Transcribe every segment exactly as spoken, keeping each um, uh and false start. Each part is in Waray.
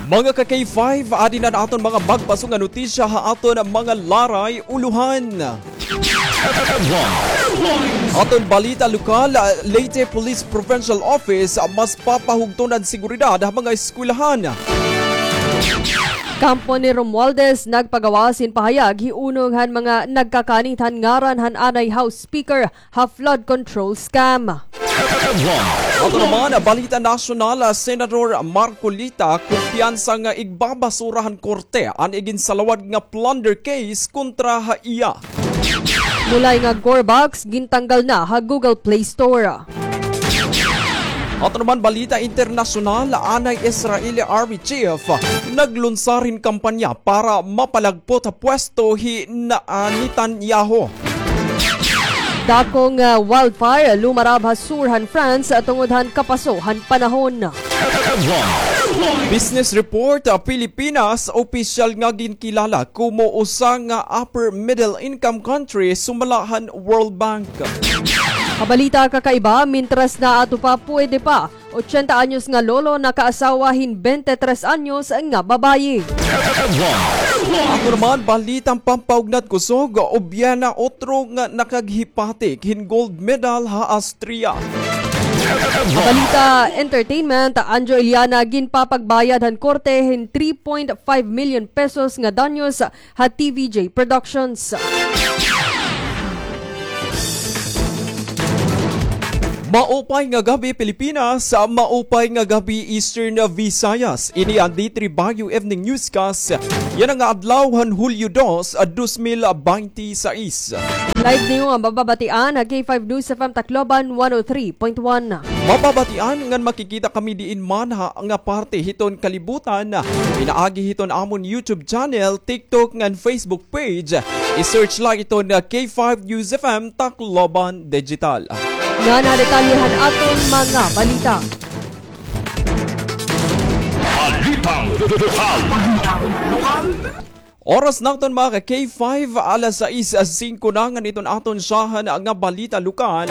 Mga ka K five, adi na an aton mga magbasol nga notisya ha aton mga laray ulohan. Aton balita lokal, Leyte Police Provincial Office, mas papahugton an seguridad ha mga eskwelahan. Kampo ni Romualdez nagpagawas hin pahayag hiunong han mga nagkakanit han ngaran han anay House Speaker ha flood control scam. Ato naman, balita nasyonal, Senador Marcoleta, kumpiyansa nga igbabasura han korte an iginsalawad nga plunder case kontra ha iya. Mulay nga Gore Box gintanggal na ha Google Play Store. Ato naman balita internasyonal, anay Israeli Army Chief naglunsar hin kampanya para mapalagpot ha pwesto hi na, ah, Netanyahu. Dako nga wildfire lumarab ha sur han France tungod han kapaso han panahon. Business report, ah, Pilipinas, opisyal nga ginkilala komo usa nga upper middle income country sumala han World Bank. Ha balita kakaiba, mintras na ato pa, pwede pa ochenta anyos nga lolo nakaasawa hin bente tres anyos nga babayi. Ato naman, balitang pampaugnat kusog, obya na otro nga nakaghipatik hin gold medal ha Austria. Ha balita entertainment, Anjo Iliana ginpapagbayad han korte hin three point five million pesos nga danyos ha T V J Productions. Maupay nga gab-i, Pilipinas. Maupay nga gab-i, Eastern Visayas. Ini an D three Baguio Evening Newscast yana nga adlaw han Hulyo dos, dos mil baynte sais. Live niyo nga mababatian ha K five News F M Tacloban one oh three point one. Mababatian ngan makikita kami diin man ha nga parte hiton kalibutan, pinaagi hiton amon YouTube channel, TikTok ngan Facebook page. I-search la iton K five News F M Tacloban Digital. Ngan ha detalye han aton mga balita. Balitang lokal. Oras naton, mga ka K five, alas sais singko na, ngan iton aton syahan nga balita lokal.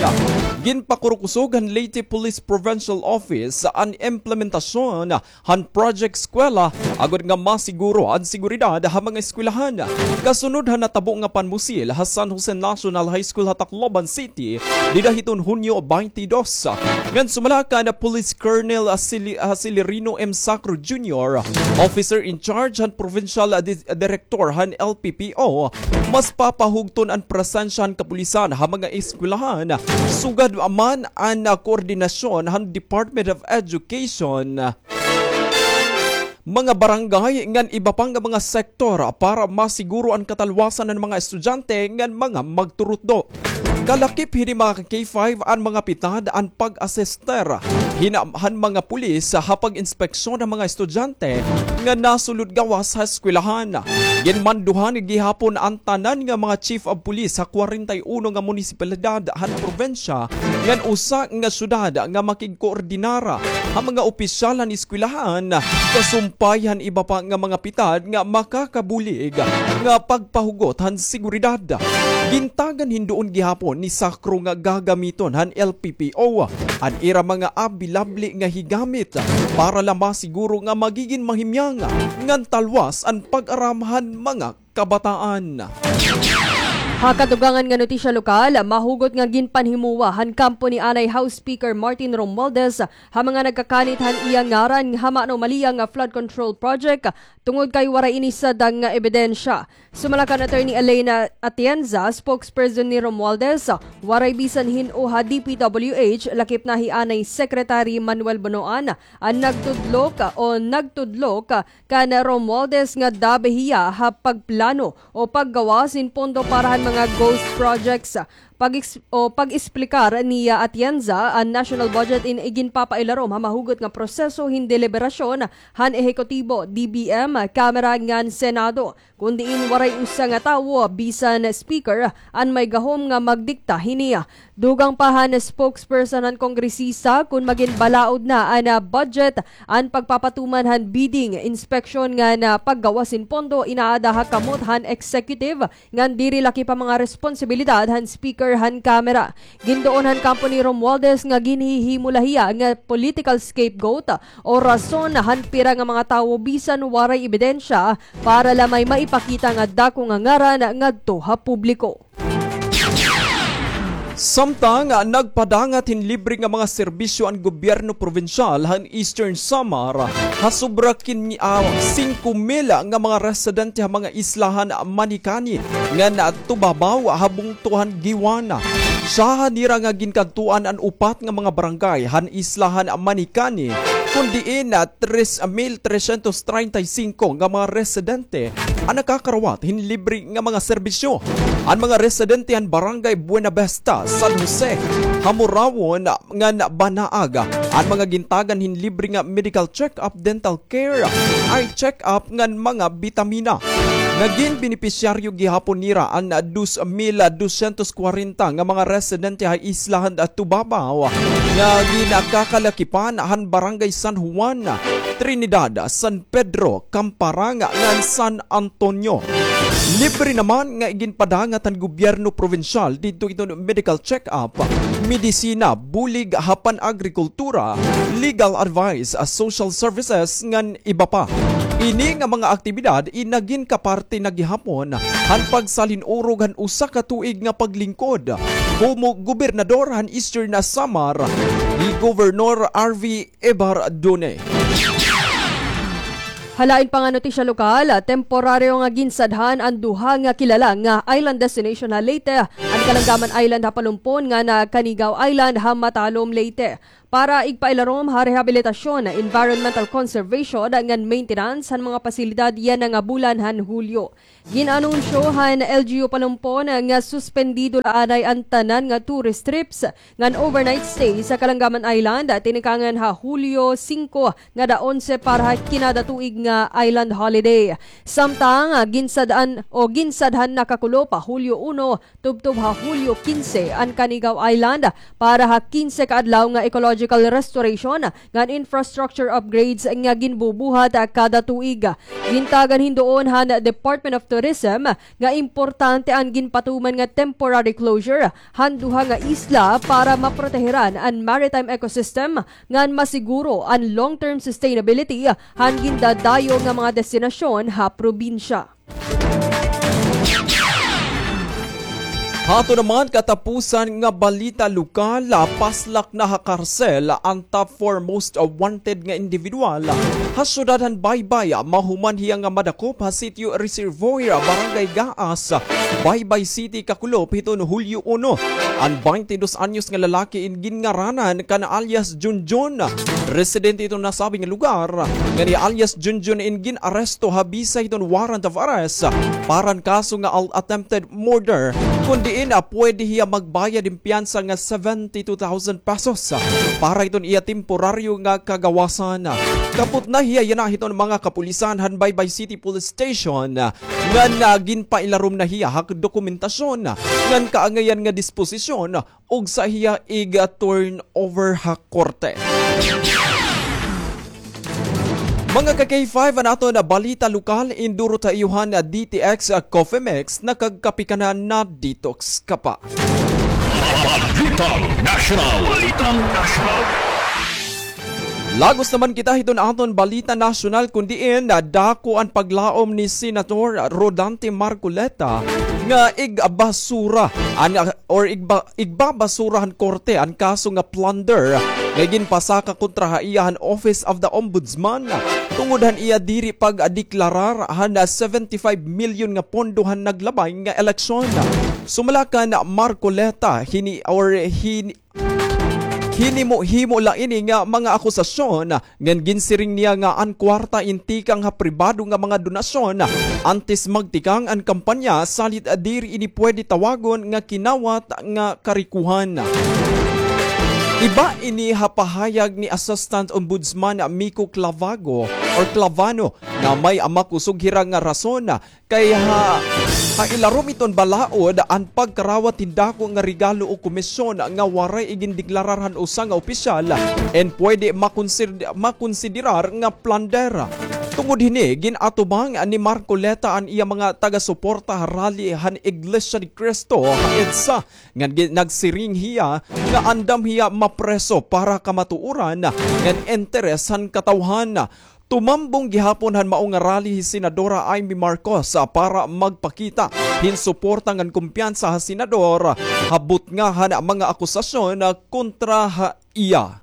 Ginpakurukusog han Leyte Police Provincial Office an implementasyon han Project Eskwela agod nga masiguro an seguridad ha mga eskwelahan. Kasunod han natabo nga panmusil ha San Jose National High School ha Tacloban City, dida hiton Hunyo baynte dos. Ngan sumala kan Police Colonel Sili-, ah, Celerino M. Sacro Junior, Officer in Charge han Provincial, ah, Di-, Director han L P P O, mas papahugton an presensya han kapulisan ha mga eskwelahan, sugad man an, ah, koordinasyon han Department of Education, mga barangay ngan iba pa nga mga sektor para masiguro an katalwasan han mga estudyante ngan mga magturutdo. Kalakip hini, mga ka K five, an mga pitad an pag-asister hina-, han mga pulis ha pag-inspeksyon han mga estudyante nga nasulod gawas ha eskwelahan. Ginmanduhan gihapon an tanan nga mga chief of police ha kwarenta y uno nga munisipalidad han probensya ngan usa nga syudad nga makig- koordinar ha mga opisyal han eskwelahan, kasumpay han iba pa nga mga pitad nga makakabulig nga pagpahugot han seguridad. Gintagan hin duon gihapon ni Sacro nga gagamiton han L P P O an ira mga abilabli nga higamit para la masiguro nga magigin mahimyang ngan talwas an pag-aram han mga kabataan. Ha katugangan nga notisya lokal, mahugot nga ginpanhimuwa han kampo ni anay House Speaker Martin Romualdez ha mga nagkakanit han iya ngaran ha maanomalya nga flood control project, tungod kay waray ini sadang nga ebidensya. Sumala kan Attorney Elena Atienza, spokesperson ni Romualdez, waray bisan hin-o ha D P W H, lakip na hi anay Secretary Manuel Bonoan, an nagtudlok o nagtudlok kan Romualdez nga dabi hiya ha pagplano o paggawas hin pondo para han mga ghost projects. Pag-ex-, o pag-esplikar ni Atienza, an national budget in iginpapailarom ha mahugot nga proseso hin deliberasyon han ehekutibo, D B M, Kamara ngan Senado. Kon diin waray usa nga tawo, bisan speaker, an may gahom nga magdikta hini. Dugang pa han spokesperson han kongresista, kon magin balaod na an, ah, budget, an pagpapatuman han bidding, inspeksyon ngan paggawas hin pondo inaada ha kamot han executive, ngan diri lakip ha mga responsibilidad han speaker. han kamera. Ginduon han kampo ni Romualdez nga ginhihimo la hiya nga political scapegoat o rason han pira nga mga tawo bisan waray ebidensya para la may maipakita nga dako nga ngaran ngadto ha publiko. Samtang nagpadangat hin libre nga mga serbisyo an gobyerno probinsyal han Eastern Samar ha sobra kin-, ah, singko mil nga mga residente ha mga isla han Manicani ngan Tubabao ha bungto han Guiuana. Syahan nira nga ginkadtuan an upat nga mga barangay han isla han Manicani, kon diin tres mil trescientos treinta y cinco nga mga residente an nakakarawat hin libre nga mga serbisyo. An mga residente han Barangay Buenavista, San Jose, Hamurawon, ngan Banaag, an mga gintagan hin libre nga medical check-up, dental care, eye check-up, ngan mga bitamina. Nagin benepisyaryo gihapon nira an dos mil dosyentos kwarenta nga mga residente ha isla han Tubabao nga ginakakalakipan han Barangay San Juan, Trinidad, San Pedro, Camparang, ngan San Antonio. Libre naman nga iginpadangat han gobyerno probinsyal didto iton medical check-up, medisina, bulig ha pan-agrikultura, legal advice, social services, ngan iba pa. Ini nga mga aktibidad in nagin kaparte na gihapon han pagsalin-urog han usa ka tuig nga paglingkod komo gobernador han Eastern Samar ni Governor R V Ebar Dune. Ha lain pa nga notisya lokal, temporaryo nga ginsadhan an duha nga kilala nga island destination ha Leyte, an Kalanggaman Island ha Palompon ngan an Canigao Island ha Matalom, Leyte. Para igpailarom ha rehabilitasyon, environmental conservation ngan maintenance han mga pasilidad yana nga bulan han Hulyo. Gin-anunsyo han L G U Palompon nga suspendido la anay an tanan nga tourist trips ngan overnight stay sa Kalanggaman Island, tinikangan ha Hulyo singko ngada onse para ha kinada tuig nga island holiday. Samtang, ah, ginsad-an o ginsadhan nakakulop ha Hulyo uno tubtob ha Hulyo kinse an Canigao Island para ha kinse ka adlaw nga ecological restoration ngan infrastructure upgrades nga ginbubuhat kada tuig. Gintagan hin duon han Department of Tourism nga importante an ginpatuman nga temporary closure han duha nga isla para maproteheran an maritime ecosystem ngan masiguro an long-term sustainability han gindadayo nga mga destinasyon ha probinsya. Ha aton naman katapusan nga balita lokal, paslak na ha karsel an top four most wanted nga individual ha syudad han Baybay, mahuman hiya nga madakop ha Sitio Reservoir, Barangay Gaas, Baybay City, kakulop hiton Hulyo uno. An baynte dos anyos nga lalaki in ginngaranan kan alias Junjun, residente hiton nasabi nga lugar, ngan hi alias Junjun in gin-aresto ha bisa hiton warrant of arrest para han kaso nga al-, attempted murder, kon diin, ah, pwede hiya magbayad hin piyansa nga seventy-two thousand pesos para hiton iya temporaryo nga kagawasan. Kapot na hiya yana hiton mga kapulisan han Baybay City Police Station, ngan, ah, ginpailarom na hiya ha dokumentasyon ngan kaangayan nga disposisyon ugsa hiya ig-turn over ha korte. Mga ka K five, an aton balita lokal, induro ta iyo han D T X Coffee Mix, nakagkape ka na, na-detox ka pa. Balitang Nasyonal. Balitang Nasyonal. Lagos naman kita hiton aton balita nasyonal, kon diin, ah, dako an paglaom ni Senator Rodante Marcoleta nga igbasura an, ah, or igba-, igbabasura han korte an kaso nga plunder nga ginpasaka kontra ha iya han Office of the Ombudsman tungod han iya diri pagdeklarar han seventy-five milyon nga pondo han naglabay nga eleksyon. Sumala kan Marcoleta, hini-, or hin-, hinimo-himo la ini nga mga akusasyon, ngan ginsiring niya nga an kwarta in tikang ha pribado nga mga donasyon antes magtikang an kampanya, salit diri ini pwede tawagon nga kinawat nga karikohan. Iba ini ha pahayag ni Assistant Ombudsman Miko Clavago or Clavano nga may makusog hira nga rason kay ha, ha ilarom iton balaod an pagkarawat hin dako nga regalo o komisyon nga waray igindeklarar han usa nga opisyal, in pwede makonsid-, makonsiderar nga plunder. Tungod hini, gin-atubang ni Marcoleta an iya mga taga-suporta ha rally han Iglesia ni Cristo ha EDSA, ngan gi-, nagsiring hiya nga andam hiya mapreso para kamatuoran ngan interes han katawhan. Tumambong gihapon han mao nga rally hi Senadora Imee Marcos, ah, para magpakita hin suporta ngan kumpiyansa ha senador ha butnga han mga akusasyon, ah, kontra ha iya.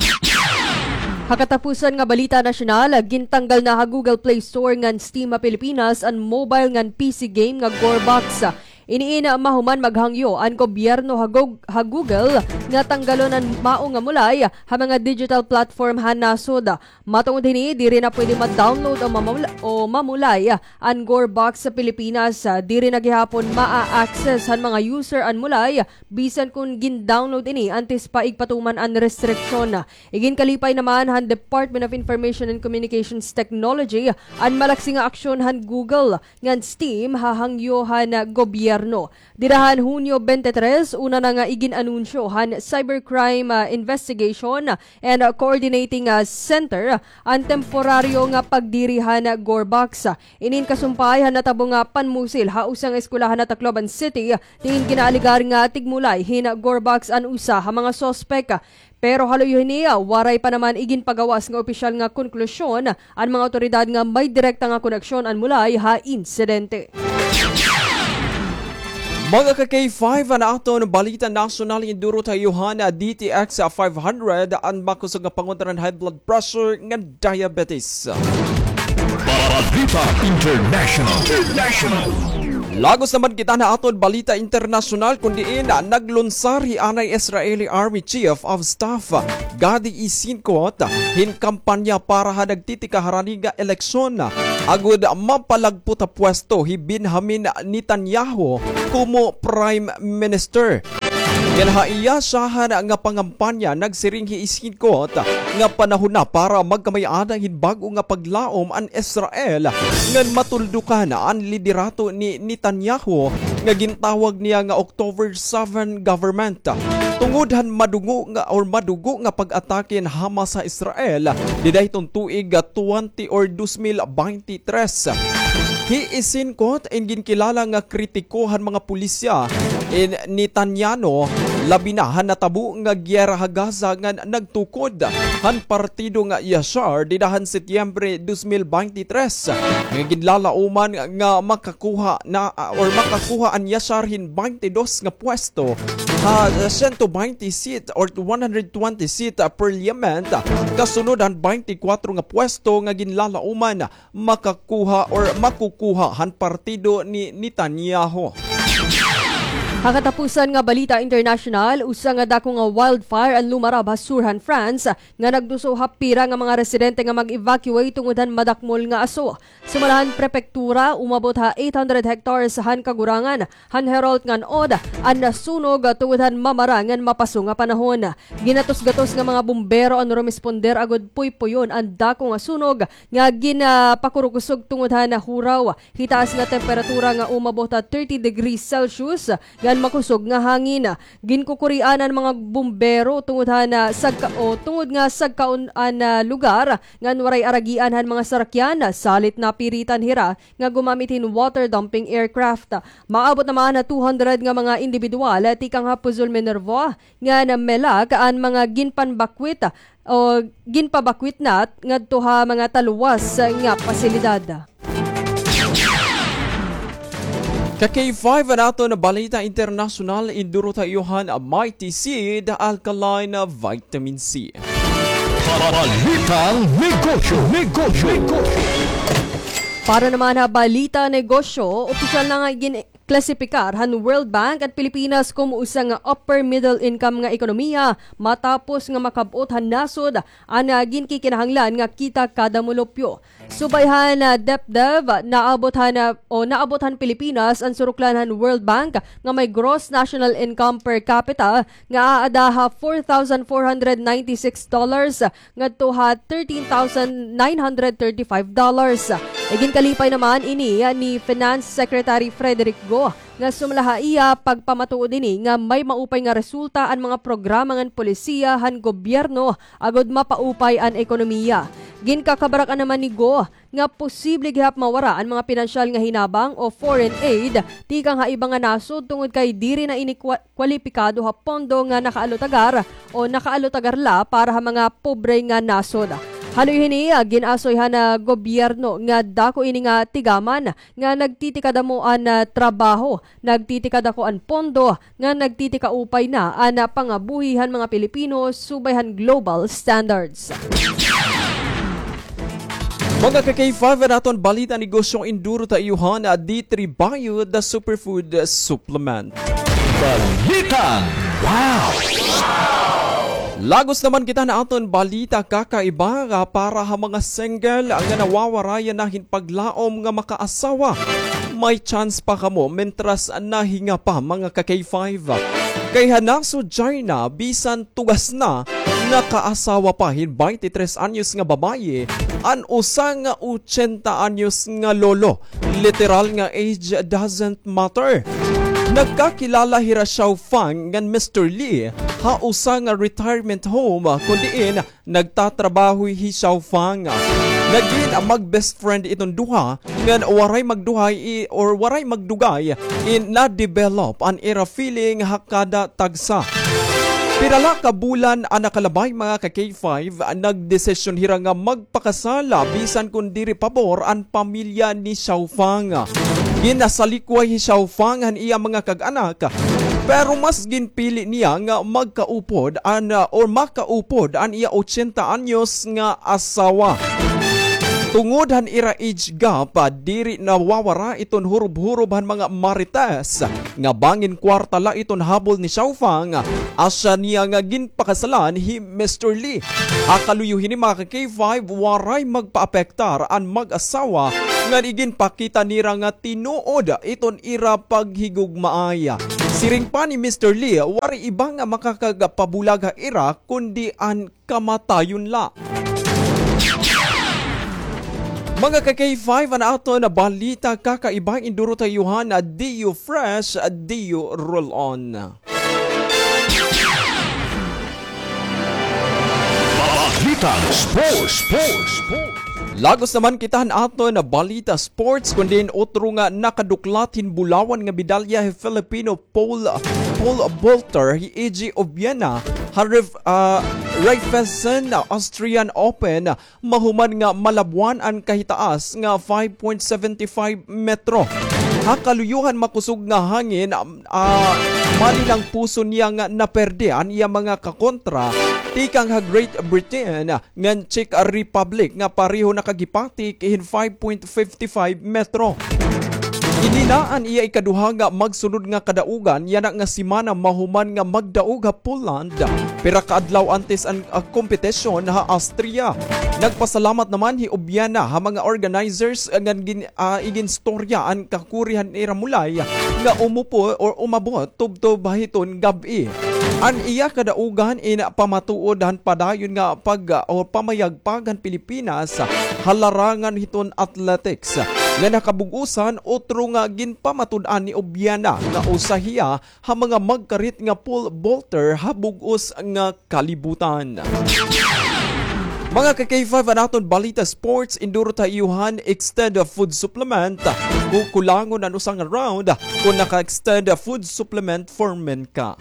Ha katapusan nga balita nasyonal, gintanggal na ha Google Play Store ngan Steam ha Pilipinas an mobile ngan P C game nga Gorebox. Iniin mahuman maghangyo an gobyerno ha Gog-, ha Google nga tanggalon an mao nga mulay ha mga digital platform han nasod. Matungod hini, diri na pwede ma-download o mamula-, o mamulay an Gorebox sa Pilipinas. Diri na gihapon maa-access han mga user an mulay bisan kon gin-download ini antes pa igpatuman an restriksyon. Iginkalipay naman han Department of Information and Communications Technology an malaksi nga aksyon han Google ngan Steam ha hangyo han gobyerno. Dida han Hunyo twenty-three, una na nga igin-anunsyo han Cybercrime, ah, Investigation and, ah, Coordinating, ah, Center an temporaryo nga pagdiri han Gorebox. Inin kasumpay han natabo nga panmusil ha usa nga eskwelahan ha Tacloban City, diin ginaalegar nga tigmulay hin Gorebox an usa ha mga suspek. Pero haluyo hini, waray pa naman iginpagawas nga opisyal nga konklusyon an mga awtoridad nga may direkta nga koneksyon an mulay ha insidente. Mga ka-K five, an aton balita nasyonal, induro ta iyo han D T X five hundred, an makusog nga pangontra han high blood pressure ngan diabetes. Balita International. International. Lagos naman kita ha aton balita internasyonal, kun diin naglunsar hi anay Israeli Army Chief of Staff Gadi Eisenkot hin kampanya para ha nagtitikang harani nga eleksyon, agod mapalagpot ha pwesto hi Benjamin Netanyahu komo Prime Minister. Ngan ha iya syahan nga pangampanya, nagsiring hi Eisenkot nga panahon na para magkamay-ada hin bag-o nga paglaom an Israel ngan matuldukan an liderato ni Netanyahu nga gintawag niya nga October seven government. Tungod han madugo nga, or madugo nga pag-atake han Hamas ha Israel dida hiton tuig, ah, twenty or dos mil baynte tres. Hi Eisenkot in ginkilala nga kritiko han mga pulisya in Netanyahu, labi na han natabo nga giyera ha Gaza ngan nagtukod han partido nga Yashar dida han Setyembre dos mil baynte tres, nga ginlalauman nga makakuha na, ah, or makakuha an Yashar hin baynte dos nga pwesto ha sento baynte seat or one hundred twenty seat, ah, parliament, kasunod han baynte kwatro nga pwesto nga ginlalauman makakuha or makukuha han partido ni Netanyahu. Ha katapusan nga balita internasyonal, usa nga dako nga wildfire an lumarab ha sur han France nga nagduso ha pira nga mga residente nga mag-evacuate tungod han madakmol nga aso. Sumala han prepektura, umabot ha eight hundred hectares han kagurangan han Hérault ngan Aude an nasunog tungod han mamara ngan mapaso nga panahon. Ginatos-gatos nga mga bumbero an rumesponder agod puypuyon an dako nga sunog nga ginapakurukusog tungod han huraw. Hitaas nga temperatura nga umabot ha thirty degrees Celsius ngan makusog nga hangin. Ginkukurian an mga bumbero tungod han, ah, sagka-, o tungod nga sagkaon an, ah, lugar ngan waray aragian han mga sarakyan, salit napiritan hira nga gumamit hin water dumping aircraft. Maabot naman ha two hundred nga mga indibidwal tikang ha Puzul-Minervois ngan Melac an mga ginpanbakwit o ginpabakwit na ngadto ha mga taluwas nga pasilidad. Ka-K five, an aton balita internasyonal, induro ta iyo han Mighty Seed Alkaline Vitamin C. Balitang negosyo, negosyo, negosyo. Para naman ha balita negosyo, opisyal na nga gin-, klasipikar han World Bank an Pilipinas komo usa nga upper middle income nga ekonomiya matapos nga makab-ot han nasod an, ah, ginkikinahanglan nga kita kada molupyo. Subay han, ah, DepDev, naabot han, ah, o naabot han Pilipinas an suruklan han World Bank nga may gross national income per capita nga aada ha four thousand four hundred ninety-six dollars ngadto ha thirteen thousand nine hundred thirty-five dollars. Iginkalipay naman ini ni Finance Secretary Frederick Go nga sumala ha iya pagpamatuod ini nga may maupay nga resulta an mga programa ngan polisiya han gobyerno agod mapaupay an ekonomiya. Ginkakabarakan naman ni Go nga posible gihap mawara an mga pinansyal nga hinabang o foreign aid tikang ha iba nga nasod tungod kay diri na ini kwa-, kwalipikado ha pondo nga nakaalutagar o nakaalutagar la para ha mga pobre nga nasod. Haloy hini, ah, gin-asoy han gobyerno nga dako ini nga tigaman nga nagtitikadamo an, ah, trabaho, nagtitikadako an pondo, nga nagtitikaupay na an, ah, pangabuhi han mga Pilipino subay han global standards. Mga ka-K five, an aton balita negosyo, induro ta iyo han, ah, D three Bio, the superfood supplement. Balitang Wow! Lagos naman kita han aton balita kakaiba nga para ha mga single nga nawawarayan na hin paglaom nga makaasawa. May chance pa kamo mentras nahinga pa, mga ka-K five. Kay ha nasod China, bisan tugas na, nakaasawa pa hin baynte tres anyos nga babaye an usa nga otsenta anyos nga lolo. Literal nga age doesn't matter. Nagkakilala hira Xiao Fang ngan Mister Li ha usa nga retirement home, kun diin nagtatrabaho hi Xiao Fang. Nagin mag-best friend iton duha, ngan waray magduhay i-, or waray magdugay in na-develop an ira feeling ha kada tagsa. Pira la ka bulan an nakalabay, mga ka-K five, nagdesisyon hira nga magpakasal, bisan kun diri pabor an pamilya ni Xiao Fang. Ginasalikway hi Xiao Fang han iya mga kag-anak, pero mas ginpili niya nga magkaupod an, or makaupod an iya otsenta anyos nga asawa. Tungod han ira age gap, diri nawawara iton hurob-hurob han mga marites nga bangin kwarta la iton habol ni Xiao Fang, asya niya nga ginpakasalan hi Mister Li. Ha kaluyo hini, mga ka-K five, waray magpaapektar an mag-asawa ngan iginpakita nira nga tinuod iton ira paghigugmaay. Siring pa ni Mister Li, waray iba nga makakagpabulag ha ira kundi an kamatayon la. Mga ka-K five, an aton balita kakaiba, induro ta iyo han, D U Fresh, D U Roll On. Balitang Sports, Sports, Sports. Lagos naman kita han aton balita sports, kun diin otro nga nakaduklat hin bulawan nga medalya hi Filipino pole, pole vaulter hi A J Obiena ha Ref-, ah, Raiffeisen Austrian Open, mahuman nga malabwan an kahitaas nga five point seven five metro. Ha kaluyo han makusog nga hangin, ah, malinang puso niya nga naperde an iya mga kakontra tikang ha Great Britain ngan Czech Republic nga pareho nakagipatik hin five point fifty five metro. Ini na an iya ikaduha nga magsunod nga kadaugan yana nga semana mahuman nga magdaog ha Poland, pira ka adlaw antes an, ah, kompetisyon ha Austria. Nagpasalamat naman hi Obiena ha mga organizers ngan gin-, ah, iginstorya an kakuri han ira mulay nga umupo or umabot tubtob ha hiton gab-i. An iya kadaugan in pamatuod han padayon nga pag-, o pamayagpag han Pilipinas ha larangan hiton athletics. Nga ha kabug-osan, otro nga ginpamatud-an ni Obiena nga usa hiya ha mga magkarit nga pole vaulter ha bug-os nga kalibutan. Mga ka-K five, an aton balita sports, induro ta iyo han extended food supplement. Kukulangon an usa nga round kon naka-extended food supplement for men ka.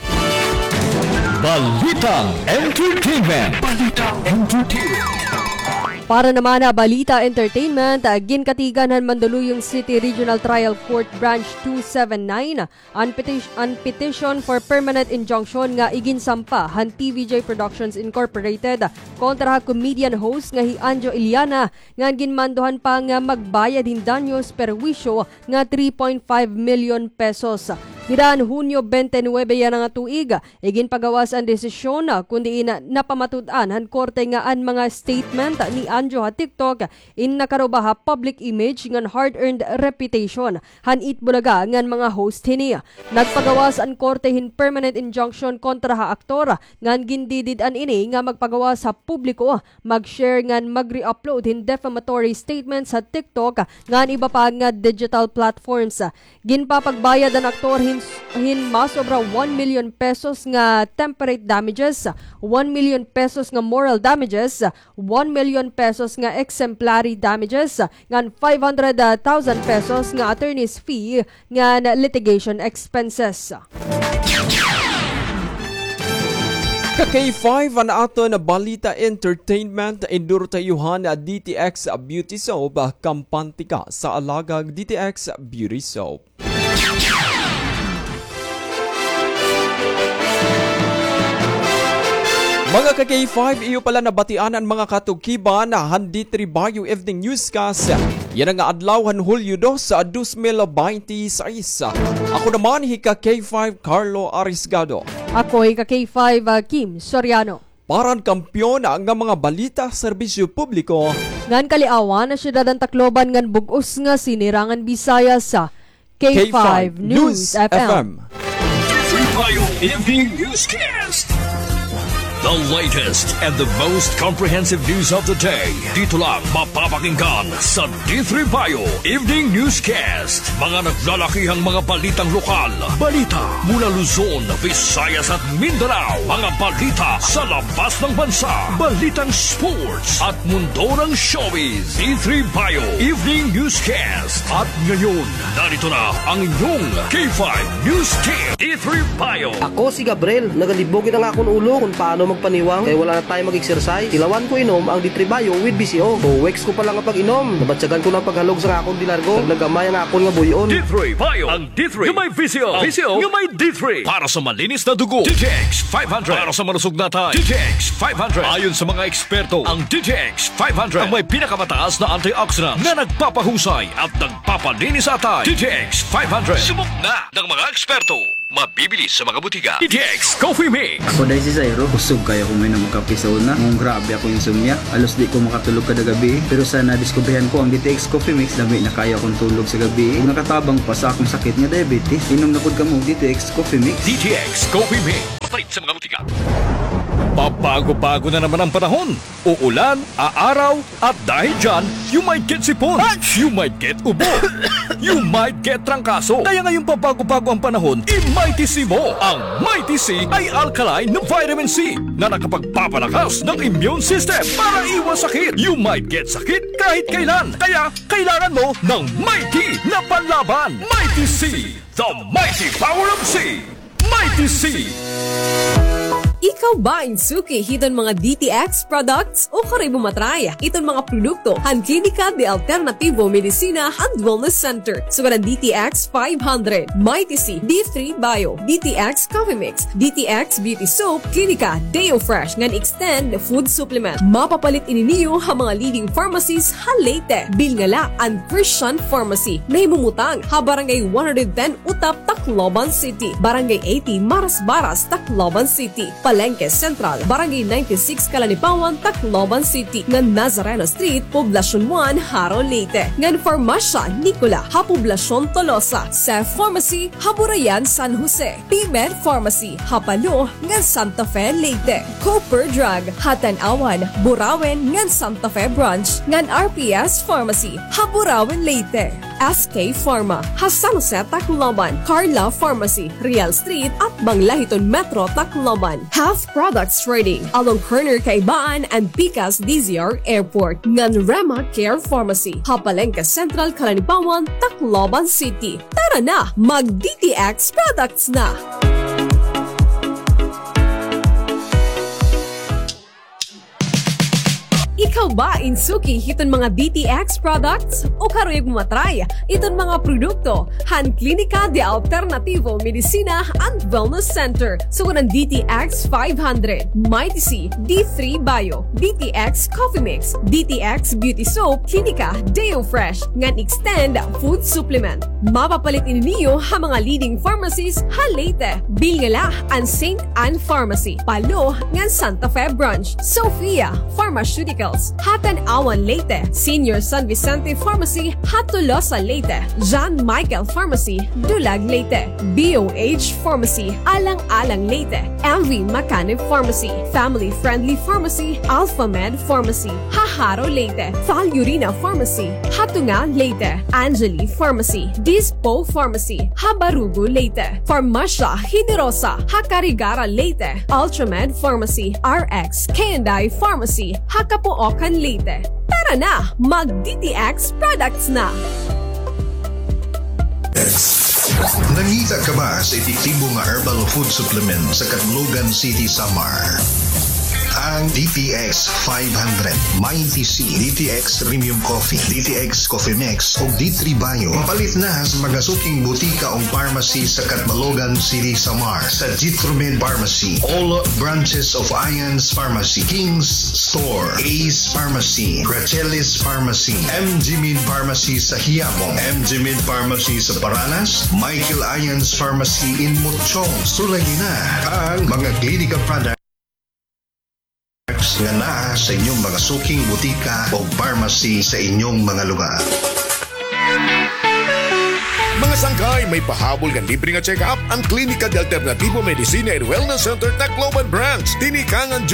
Balitang Entertainment. Balitang Entertainment. Para naman ha Balita Entertainment, ah, ginkatigan han Mandaluyong City Regional Trial Court Branch two seven nine an peti-, an petition for permanent injunction nga iginsampa han T V J Productions Incorporated kontra ha comedian host nga hi Anjo Iliana, ngan ginmandohan pa nga magbayad hin danyos perwisyo nga three point five million pesos. Dida han Hunyo twenty-nine yana nga tuig, iginpagawas an desisyon, kundi in napamatud-an han korte nga an mga statement ni Anjo ha TikTok in nakaruba ha public image ngan hard-earned reputation han Eat Bulaga ngan mga host hini. Nagpagawas an korte hin permanent injunction kontra ha aktor ngan gindidid-an ini nga magpagawas ha publiko, mag-share ngan mag-re-upload hin defamatory statements ha TikTok ngan iba pa nga digital platforms. Ginpapagbayad an aktor hin, hin masobra one million pesos nga temperate damages, one million pesos nga moral damages, one million pesos nga exemplary damages, ngan five hundred thousand pesos nga attorney's fee ngan litigation expenses. Ka K five, an aton balita entertainment, induro ta iyo han D T X Beauty Soap, kampante ka sa alagad D T X Beauty Soap. Mga ka K five, iyo pala nabatian an mga katukiban han D three Bayo Evening Newscast. Yana nga adlaw han Hulyo dos, dos mil baynte sais. Ako naman hi ka K five Carlo Arisgado. Ako hi ka K five, ah, Kim Soriano. Para han kampiyon nga mga balita, serbisyo publiko ngan kaliawan ha syudad han Tacloban ngan bug-os nga sinirangan Bisaya sa K five News F M. D three Bayo Evening Newscast. The latest and the most comprehensive news of the day. Dito lang mapapakinggan sa D three Bayo Evening Newscast. Mga naglalakihang mga balitang lokal. Balita mula Luzon, Visayas at Mindanao. Mga balita sa labas ng bansa. Balitang sports at mundo ng showbiz. D three Bayo Evening Newscast. At ngayon, narito na ang inyong K five News Team. D three Bayo. Ako si Gabriel. Nagalibog it ang akon ulo kon paano magpaniwang kay wala na time mag-exercise. Tilawan ko inom ang D three Bayo with V C O. Two weeks ko pa lang nga pag-inom, nabatyagan ko na paghalog sa akon dinargo. Naglagamay ang akon nga buy-on. D three Bayo. Ang D three nga may V C O. V C O nga may D three. Para sa malinis na dugo, D T X five hundred. Para sa malusog na atay, D T X five hundred. Ayon sa mga eksperto, ang D T X five hundred ang may pinakamataas na antioxidant na nagpapahusay at nagpapalinis sa atay. D T X five hundred. Subok na ng mga eksperto. Mabibili sa mga butika. D T X Coffee Mix. Ako diay si Zairo. Kusog kaayo ko mainom og kape sa una. Ngan grabe akon insomnia. Halos di ko makatulog kada gabii. Pero sa nadiskubrihan ko ang D T X Coffee Mix, lami na kaayo akon tulog sa gabii. Ug nakatabang pa sa akon sakit nga diabetes. Inom na pod kamo og D T X Coffee Mix. D T X Coffee Mix. Mabibili sa mga butika. Pabago-bago na naman ang panahon. Uulan, aaraw, at dahil dyan, you might get sipon, you might get ubo, you might get trangkaso. Kaya ngayong pabago-bago ang panahon, i-Mighty C mo. Ang Mighty C ay alkaline na vitamin C na nakapagpapalakas ng immune system para iwas sakit. You might get sakit kahit kailan. Kaya kailangan mo ng Mighty na panlaban. Mighty C, the mighty power of C. Mighty C. Ikaw ba in suki hiton mga D T X products? Ukon imo ma-try iton mga produkto han Klinika de Alternativo Medicina and Wellness Center. Sugad an D T X five hundred, Mighty C, D three Bio, D T X Coffee Mix, D T X Beauty Soap, Klinika Deo Fresh ngan Extend Food Supplement. Mapapalit ini niyo ha mga leading pharmacies ha Leyte. Bilnga la an Christian Pharmacy. Nahimumutang ha Barangay one hundred ten Utap, Tacloban City, Barangay eighty Marasbaras, Tacloban City, Palengke Central, Barangay ninety-six Calanipawan, Tacloban City, ngan Nazareno Street, Poblacion one, Jaro, Leyte, ngan Farmasya Nicola ha Poblacion Tolosa, Cef Pharmacy ha Burayan, San Jose, P-Med Pharmacy ha Palo ngan Santa Fe, Leyte, Cooper Drug ha Tanauan, Burauen ngan Santa Fe Branch, ngan R P S Pharmacy ha Burauen, Leyte. S K Pharma ha San Jose, Tacloban, Carla Pharmacy, Real Street, atbang la hiton Metro Tacloban, Half Products Trading, along corner Kaibaan and Pikas D Z R Airport, ngan Rema Care Pharmacy ha Palengke Central, Calanipawan, Tacloban City. Tara na, mag-D T X products na! Ikaw ba in suki hiton mga D T X products? O karuyag mo matry iton mga produkto han Klinika de Alternativo Medicina and Wellness Center? Sugad han D T X five hundred, Mighty C, D three Bio, D T X Coffee Mix, D T X Beauty Soap, Klinika Deo Fresh, ngan Extend Food Supplement. Mapapalit ini niyo ha mga leading pharmacies ha Leyte. Bilngala an Saint Ann Pharmacy, Palo, ngan Santa Fe Branch. Sophia Pharmaceuticals, ha Tanauan, Leyte. Senior San Vicente Pharmacy, ha Tolosa, Leyte. John Michael Pharmacy, Dulag, Leyte. B O H Pharmacy, Alang-alang, Leyte. M V Macanib Pharmacy, Family Friendly Pharmacy, Alpha Med Pharmacy, ha Jaro, Leyte. Fal Urina Pharmacy, ha Tunga, Leyte. Angeli Pharmacy, Dispo Pharmacy, ha Barugo, Leyte. Farmasya Generosa, ha Carigara, Leyte. Ultramed Pharmacy, R X K and I Pharmacy, ha Capoocan, Leyte. Tara na, mag D T X products na! Nangita ka ba sa epektibo nga herbal food supplement sa Catbalogan City, Samar? Ang D T X five hundred, Mighty C, D T X Premium Coffee, D T X Coffee Mix, ug D three Bio. Mapalit na sa mga suking butika o pharmacy sa Catbalogan City, Samar, sa Jitromed Pharmacy, all branches of Ian's Pharmacy, King's Store, Ace Pharmacy, Rachel's Pharmacy, M G Min Pharmacy sa Quiapo, M G Min Pharmacy sa Paranas, Michael Ian's Pharmacy in Mochong. Sulay na ang mga Klinika products nga naa sa inyong mga suking butika o pharmacy sa inyong mga lugar. Mga sangkay, may pahabol ngan libre nga check-up an Klinika de Alternativo Medicina and Wellness Center Tacloban Branch. Tinikangan